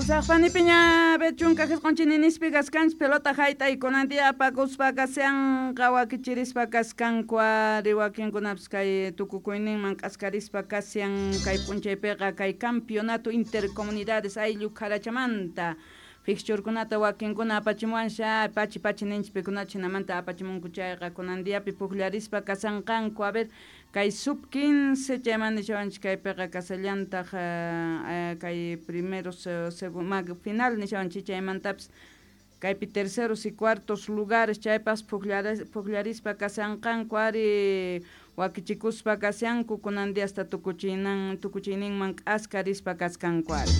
Usaqpanipiña bechunka qisqunchininispi kaskanchik pelota hayt'ay kunan día apakuspa kashanqa wakichirispa kaskanku ari wakinkunapis kay tukukuyninman k'askarispa kashan kay p'unchaypiqa kay campeonato intercomunidades ayllu kharachamanta fixturkunata wakinkuna apachimuwansha pachi pachi ninchik pikunachu hinamanta apachimunku chayqa kunan diapi pukllarispa kashanqanku a ver kay sub 15 chayman nishawanchik kaypiqa kasallantaq kay primeros final nishawanchik chaymantapis kaypi terceros y cuartos lugares chaypas pukllarispa kashanqanku ari wakichikuspa kashanku kunan diasta tukuchinan tukuchiyninman k'askarispa kaskanku ari.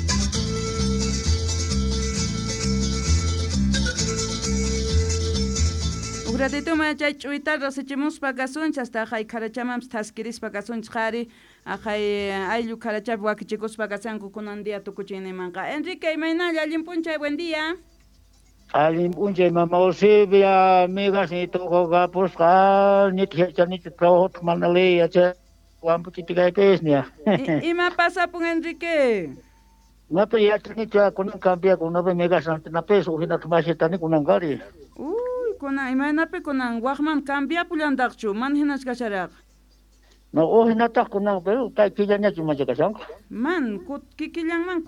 Huk ratituman chay ch'uyta rasichimuspa kasunchik hasta aqhay kharachamanpis thaskirispa kasunchik qhari aqhay ayllu kharachapi wakichikuspa kashanku kunan día tukuchiyninmanqa. Enrique, imaynalla allin p'unchay, buen día. Allin p'unchay mama Eusebia, amigas ni tukukapusqa nita yachanita trabajo mana ley yacha wampuchitikaypis nia. Ima pasapun Enrique? Napi yachanichu kunan cambia kunapi megas napis uhinata mashitani kunan kari. Uy, kunan imaynapi kunan waqman cambiapullantaqchu mana hinachu kasharaq. No uhinataq kunan pero kay killañachu macha kashanqa. Man kikillanman